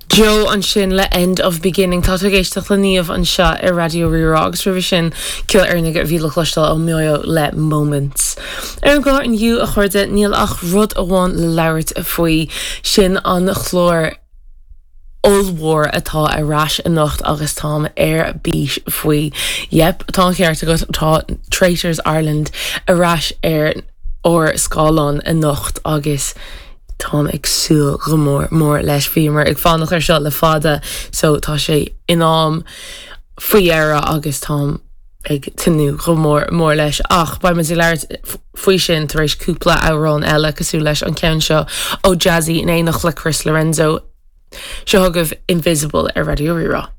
Joe ansin le End of Beginning. Tá tú ag éisteacht le Niamh anseo ar Raidió Rí-Rá agus roimhe sin ceol Éireannach a bhí le cloisteáil ó Moyo le Moments. Ar an gclár inniu, a chairde, níl ach rud amháin le labhairt faoi, sin an clár ollmhór atá ar ais anocht agus táim ar bís faoi. Yep, tá an ceart agat, tá Traitors Ireland ar ais ar ár scáileán anocht agus Táim ag súil go mór mór leis. Bhíomar ag fanacht ar seo le fada so tá sé in am faoi dheireadh agus táim ag tnúth go mór mór leis. Ach beidh muid ag labhairt faoi sin tar éis cúpla amhrán eile cosúil leis an ceann seo ó Jazzy in éineacht le Chris Lorenzo. Seo chugaibh Invisible ar Raidió Rí-Rá.